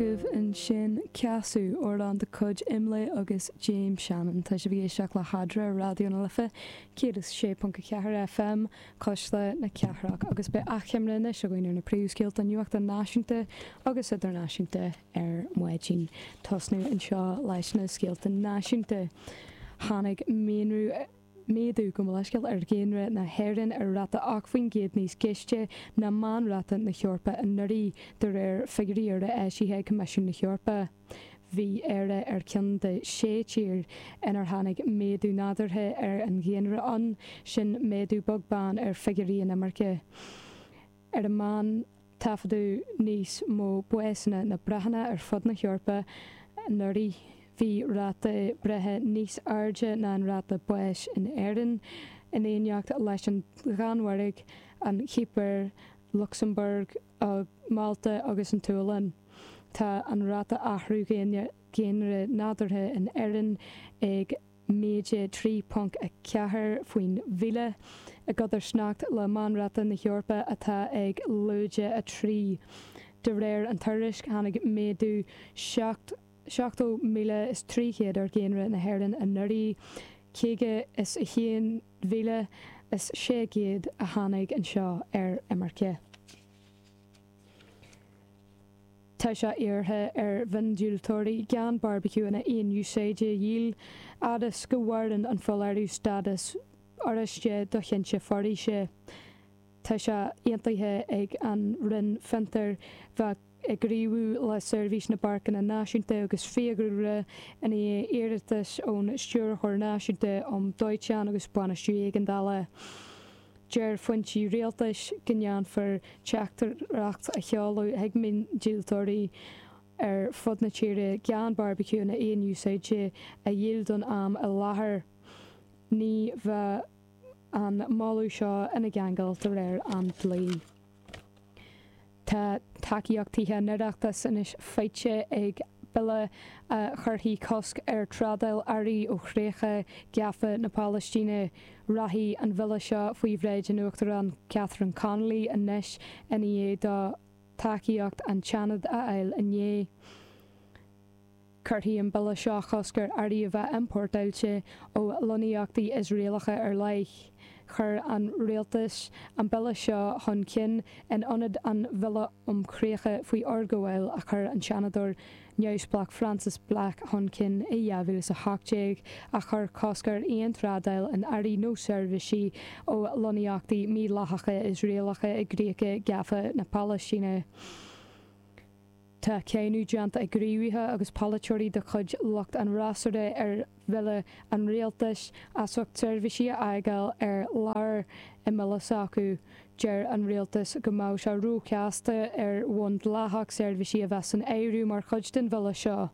agaibh ansin Ceasú, amhrán de chuid Imlé agus James Shannon. Tá sibh ag éisteacht le hEadra ar Raidió na Life 106.4 FM, Cuisle na Cathrach, agus beidh achoimre anois againn ar na príomhscéalta nuachta náisiúnta agus idirnáisiúnta ar maidin. Tosnú anseo leis na scéalta náisiúnta. Tháinig méanrú. méadú, gabh mo leithscéal, ar dhaonra na hÉireann ar ráta 8% níos gaiste ná meánráta na hEorpa anuraidh, de réir figiúirí úra eisithe ag Coimisiún na hEorpa. Bhí Éire ar cheann de shé tír inar tháinig méadú nádúrtha ar an dhaonra ann, sin méadú beag beann ar figiúirí inimirce. Ar an meán, taifeadadh níos mó básanna ná breitheanna ar fud na hEorpa anuraidh. Bhí ráta breithe níos airde ná an ráta báis in Éirinn, in éineacht leis an Danmhairg, an Chipir, Lucsamburg, Málta agus an tSualainn. Tá an ráta athrú dhaonra nádúrtha in Éirinn ag. méide 3.4 faoin mhíle, i gcodarsnacht le meánráta na hEorpa atá ag lúide 3. De réir an tuairisc, tháinig méadú 70,300 ar dhaonra na hÉireann anuraidh, 51,600 a tháinig anseo ar imirce. Tá sé iarrtha ar mhiondíoltóirí gan beárbaiciúanna aon úsáide a dhíol, fhad is go mhaireann an foláireamh stádas oráiste do thinte foraoise. Tá sé aontaithe ag an Roinn Fiontar bheith ag gníomhú le Seirbhís na bPáirceanna Náisiúnta agus Fiadhúlra i ndiaidh iarratais ón Stiúrthóir Náisiúnta um Dóiteán agus Bainistiú Éigeandála. Deir foinsí rialtais go ndéanfar teachtaireacht a sheoladh chuig miondíoltóirí ar fud na tíre gan beárbaiciúanna aon úsáide a dhíol don am i láthair. Ní bheadh an moladh seo ina gceangal de réir an dlí. Tá tacaíocht Tithe an Oireachtais anois faighte ag bille a chuirfidh cosc ar thrádáil earraí ó chríocha gafa na Palaistíne. Rachaidh an bille seo faoi bhráid an Uachtaráin Catherine Connolly anois i ndiaidh dó tacaíocht an tSeanaid a fháil inné. Cuirfidh an bille seo cosc ar earraí a bheith iompórtáilte ó lonnaíochtaí Iosraelacha ar leith. Chuir an rialtas an bille seo chun cinn in ionad an Bhille um Chríocha faoi Fhorghabháil a chuir an Seanadóir neamhspleách Frances Black chun cinn i 2018, a chuir cosc ar aon trádáil in earraí nó seirbhísí ó lonnaíochtaí mídhleathacha Iosraelacha i gcríocha gafa na Palaistíne. Tá cáineadh déanta ag gníomhaithe agus polaiteoirí de chuid lucht an fhreasúra ar bhille an rialtais as ucht seirbhísí a fhágáil ar lár i mbille s'acu. Deir an rialtas go mbeadh sé róchasta ar bhonn dleathach seirbhísí a bheith san áireamh mar chuid den bhille seo.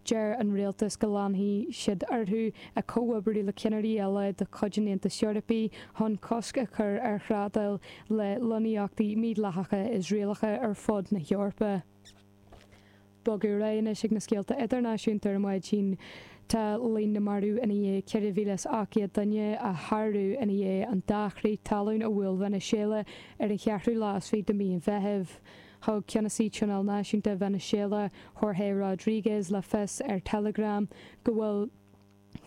Deir an rialtas go leanfaidh siad orthu ag comhoibriú le cinnirí eile de chuid an Aontais Eorpaigh chun cosc a chur ar thrádáil le lonnaíochtaí mídhleathacha Iosraelacha ar fud na hEorpa. Bogadh ar aghaidh anois ag na scéalta idirnáisiúnta ar maidin. Tá líon na marbh ina dhiaidh 4,800 duine a shárú ina dhiaidh an dá chrith talún a bhuail Veiniséala ar an cheathrú lá is fiche de mhí an Mheithimh. Thug Ceannasaí Tionóil Náisiúnta Veiniséala, Jorge Rodríguez, le fios ar Telegram go bhfuil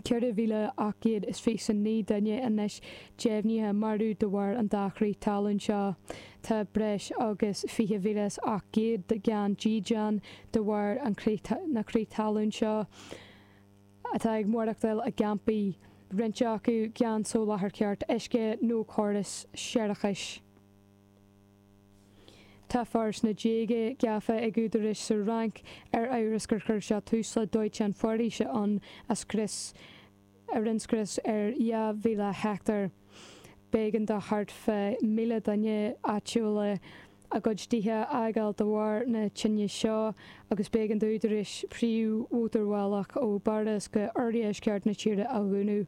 4,829 duine anois deimhnithe marbh de bharr an dá chrith talún seo. Tá breis agus 20,800 gan dídean de bharr na crith talún seo atá ag maireachtáil i gcampaí, roinnt acu gan soláthar ceart uisce nó córas séarachais. Tá fear sna déaga gafa ag údaráis sa Fhrainc ar amhras gur chuir sé tús le dóiteán foraoise ann a scrios a rinne scrios ar 2,000 heicteár. B'éigean do thart fá 1,000 duine áitiúla a gcuid tithe a fhágáil de bharr na tine seo agus b'éigean d'údaráis príomh-mhótarbhealach ó bPáras go oirdheisceart na tíre a dhúnadh.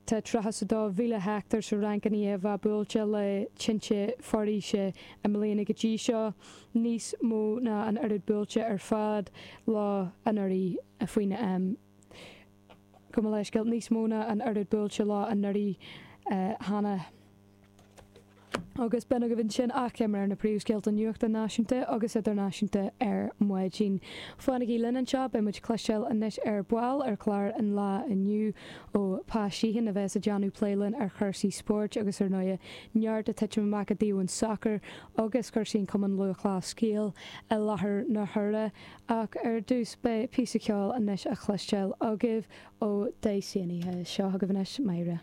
Tá 32,000 heicteár sa Fhrainc i ndiaidh a bheith buailte le tinte foraoise i mbliana go dtí seo, níos mó ná an oiread buailte ar fad leo anuraidh faoin am. Gabh mo leithscéal, níos mó ná an oiread buailte leo anuraidh cheana. Agus b'in agaibh ansin achoimre ar na príomhscéalta nuachta náisiúnta agus idirnáisiúnta ar maidin. Fanaigí linn anseo, beidh muid ag cloisteáil anois ar ball ar chlár an lae inniu ó Pa Sheehan a bheas ag déanamh plé linn ar chúrsaí spóirt agus ar ndóighe neart ag titim amach i dtaobh an tsacair agus cúrsaí an Chumann Lúthchleas Gael i láthair na huaire. Ach ar dtús beidh píosa ceoil anois á chloisteáil agaibh ó Daosanaithe. Seo chugaibh anois Máire.